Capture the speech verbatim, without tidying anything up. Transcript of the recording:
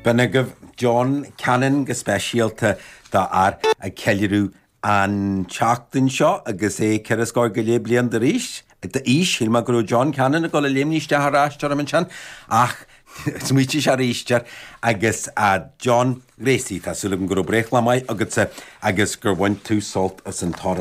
B'in agaibh John Cannon go speisialta do fhear ag ceiliúradh an tseachtain seo agus é ceithre scór go leith bliain d'aois d'aois shíl mé go raibh John Cannon ag dul a léimní isteach ar ais orm ansin ach smaointigh sé arís air agus a John Gracie tá súil agam go raibh breithlá maith agatsa agus gur bhain tú sult as an t-amhrán.